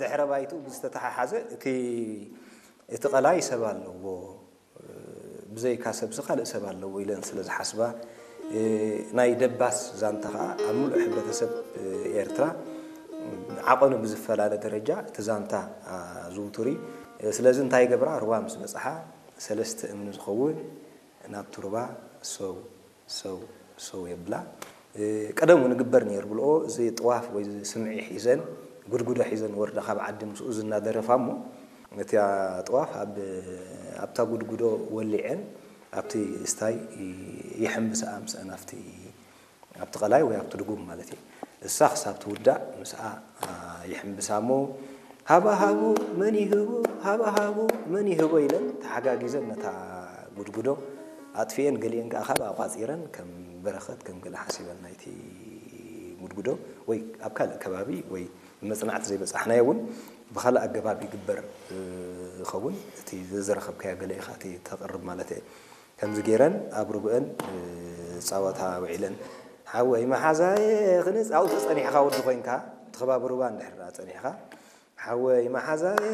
ድሕረ ባይትኡ ብዝተተሓሓዘ እቲ እቲ ቀላይ ሰብ ኣለዎ፣ ብዘይካ ሰብሲ ካልእ ሰብ ኣለዎ ኢለን ስለ ዝሓስባ፣ ናይ ደባስ ዛንታ ከኣ ኣብ ምሉእ ሕብረተሰብ ኤርትራ ዓቐኑ ብዝፈላለ ደረጃ እቲ ዛንታ ዝውቱር እዩ። ስለዚ እንታይ ይገብራ? ሩባ ምስ በጽሓ ሰለስተ እምኒ ዝኸውን ናብቲ ሩባ ሰው ሰው ሰው የብላ። ቀደም እውን ይግበር ነይሩ ብልኦ፣ እዚ ጥዋፍ ወይ እዚ ስምዒ ሒዘን፣ ጉድጉዶ ሒዘን ወርዳ ካብ ዓዲ ምስኡ ዝናደረፋ እሞ፣ እቲ ጥዋፍ ኣብ ኣብታ ጉድጉዶ ወሊዐን ኣብቲ ስታይ ይሕምብስኣ ምስአን ኣብቲ ኣብቲ ቀላይ ወይ ኣብቲ ድጉም ማለት እዩ። እሳ ክሳብ ትውዳእ ምስኣ ይሕምብሳ እሞ፣ ሃባ ሃቡ መን ይህቡ፣ ሃባ ሃቡ መን ይህቦ ኢለን ተሓጋጊዘን ነታ ጉድጉዶ ኣጥፊኤን፣ ገሊአን ከኣ ካብ ኣቋጺረን ከም በረኸት ከም ገለ ሓሲበን ናይቲ ጉድጉዶ ወይ ኣብ ካልእ ከባቢ ወይ ብመጽናዕቲ ዘይበጻሕናዮ እውን ብኻልእ ኣገባብ ይግበር ይኸውን። እቲ ዘዝረኸብካዮ ገለ ኢኻ እቲ ተቕርብ ማለት እየ። ከምዚ ገይረን ኣብ ርጉእን ጻወታ ውዒለን፣ ሓወይ መሓዛየ ክንጻውቲ ጸኒሕካ ወዲ ኮይንካ፣ ትኽባብ ሩባ እንድሕር ደኣ ጸኒሕካ፣ ሓወይ መሓዛየ